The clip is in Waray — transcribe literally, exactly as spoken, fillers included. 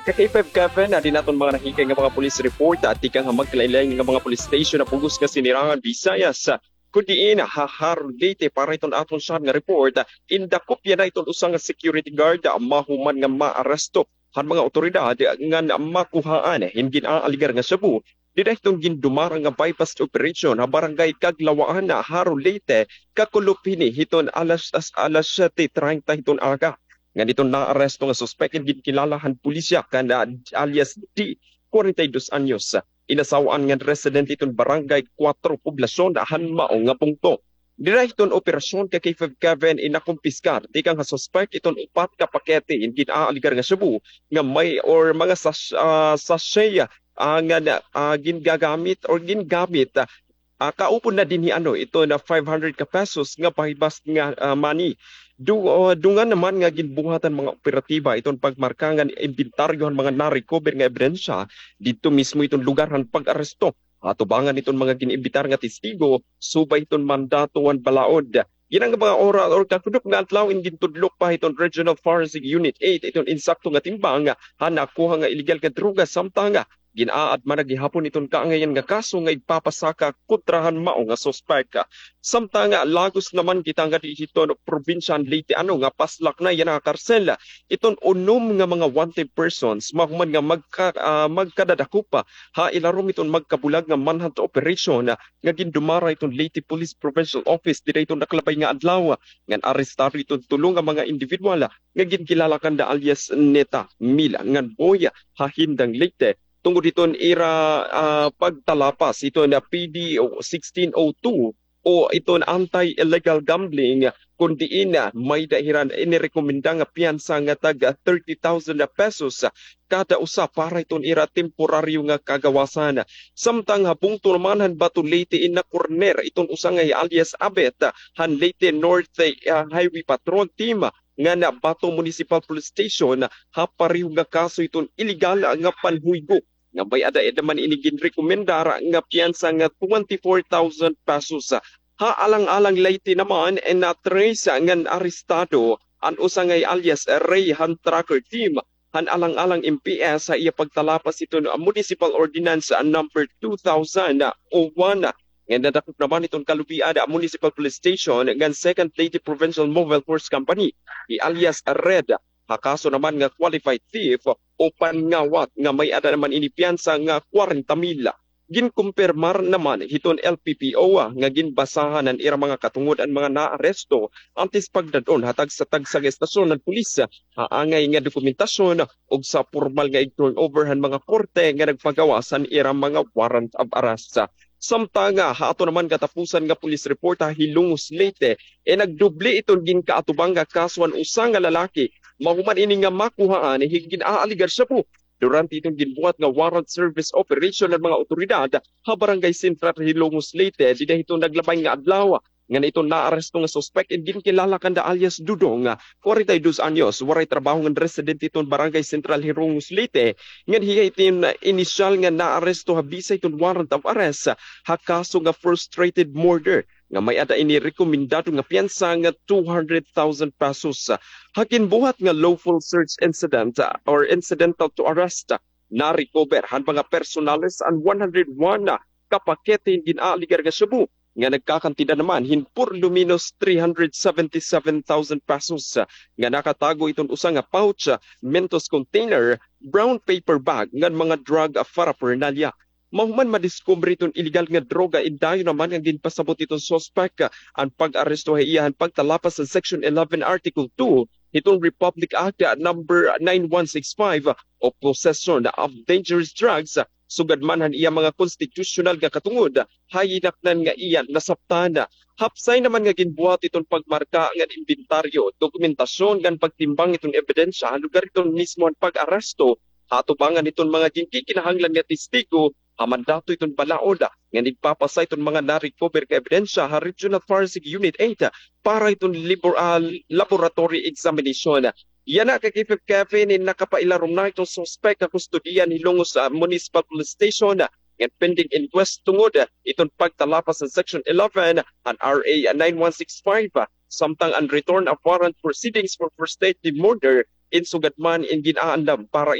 Ka K five Kevin, adi naton mga nahikay nga mga police report, ah, tikang ha magkalain-lain nga mga police station ha bug-os nga Sinirangan Visayas, ah, kun diin, ah, ha Jaro, Leyte, para iton aton siya nga report, ah, indakop yana iton usa nga security guard, ah, mahuman nga maaresto han mga awtoridad, ah, ngan makuhaan hin gin-aaligar nga shabu dida hiton gindumara nga buy-bust operation ha Barangay Kaglawaan, Jaro, Leyte, kakulop hini hiton alas, as-, alas siyete treinta hiton aga. Ngan iton naaresto nga suspek in ginkilala han pulisya kan, ah, alias D, kwarenta y dos anyos. Inasawa-an ngan residente hiton Barangay Kuwatro, Poblacion, han mao nga bungto. Dida hiton operasyon ka K five Kevin in nakumpiskar tikang ha suspek iton upat ka pakete in gin-aaligar nga shabu nga may or mga sas-, ah, sachet, ah, nga na, ah, gingagamit or gingamit, ah, ah, kaupod na dinhi ano, iton five hundred ka pesos nga buy-bust nga, ah, money. Du-, ah, dungan naman nga ginbuhat han mga operatiba iton pagmarka ngan imbentaryo han mga na-recover nga ebidensya didto mismo iton lugar han pag-aresto. Atubangan iton mga gin-imbitar nga testigo, subay iton mandato han balaod. Yana nga mga oras or kakulop nga adlaw in gintudlok pa hiton Regional Forensic Unit eight iton insakto nga timbang han nakuha nga iligal nga droga, samtang gin-aadman na gihapon iton kaangayan nga kaso nga igpapasaka kontra han mao nga suspek. Samtang lagos naman kita nga didi hiton probinsya han Leyte ano nga paslak na yana nga karsel iton unom nga mga wanted persons mahuman nga magka-, ah, magkadadakop ha ilarom iton magkabulag nga manhunt operation nga gindumara iton Leyte Police Provincial Office dida hiton nakalabay nga adlaw, ngan arestado iton tulo nga mga individual nga ginkilala kanda alias Neta, Mila, ngan Boy ha Hindang, Leyte, tungod hiton ira, ah, pagtalapas hiton P D sixteen oh two o iton anti-illegal gambling, kun diin, ah, may-ada hira inirekomenda nga piyansa nga tag thirty thousand pesos kada usa para hiton ira temporaryo nga kagawasan. Samtang ha bungto naman han Bato, Leyte, in nakorner iton usa nga alias Abet han Leyte North, ah, Highway Patrol Team ngan Bato Municipal Police Station ha pareho nga kaso hiton iligal nga panhuygo nga may-ada man ini ginrekomendar nga piyansa nga twenty-four thousand pesos. Ha Alang-alang, Leyte naman, na-trace ngan arestado an usa nga alias Ray han trucker team han Alang-alang M P S ha iya pagtalapas hiton Municipal Ordinance number two thousand one. Ngan nadakop naman hiton Calubian Municipal Police Station ngan Second Leyte Provincial Mobile Force Company hi alias Red ha kaso naman nga qualified thief o panngawat nga may-ada naman ini piyansa nga kwarenta mil. Ginkumpirmar naman hiton L P P O nga ginbasahan han ira mga katungod an mga naaresto antes pagdad-on ha tagsa-tagsa nga estasyon han pulis ha angay nga dokumentasyon ug sa pormal nga ig-turnover han mga korte nga nagpagawas han ira mga warrant of arrest. Samtang ha aton naman katapusan nga police report ha Hilongos, Leyte, eh, nagdoble iton ginkaatubang nga kaso han usa nga lalaki mahuman ini nga makuhaan hin gin-aaligar shabu durante iton ginbuhat nga warrant service operation han mga awtoridad ha Barangay Central, Hilongos, Leyte, dida hiton naglabay nga adlaw. Ngan iton naaresto nga suspek in ginkilala kanda alias Dudong, kwarenta y dos anyos, waray trabaho ngan residente hiton Barangay Central, Hilongos, Leyte, ngan hiya iton inisyal nga naaresto ha bisa hiton warrant of arrest ha kaso nga frustrated murder nga may-ada ini rekomendado nga piyansa nga two hundred thousand pesos. Ha ginbuhat nga lawful search incident, ah, or incidental to arrest, na-recover han mga personales an one hundred one ka pakete hin gin-aaligar nga shabu nga nagkakantidad naman hin por lo menos three hundred seventy-seven thousand pesos, nga nakatago iton usa nga pouch, Mentos container, brown paper bag, ngan mga drug paraphernalia. Mahuman madiskubre iton iligal nga droga, in dayon naman nga ginpasabot iton suspek an pag-aresto ha iya han pagtalapas han Section eleven, Article two hiton Republic Act number nine one six five o possession of dangerous drugs, sugad man han iya mga konstitusyonal nga katungod ha hinaknan nga iya nasaptan. Hapsay naman nga ginbuhat iton pagmarka ngan imbentaryo, dokumentasyon ngan pagtimbang iton ebidensya ha lugar iton mismo han pag-aresto, ha atubangan iton mga ginkikinahanglan nga testigo, ha mandato iton balaod, ngan igpapasa iton mga na-recover nga ebidensya ha Regional Forensic Unit eight para iton libor-, ah, laboratory examination. Yana ka K five Kevin, in nakapailarom na iton suspek ha kustodiya han Hilongos, ah, Municipal Police Station, ngan pending inquest tungod iton pagtalapas han Section eleven han R A nine one six five, samtang an return of warrant proceedings for first degree murder in sugad man in gin-aandam para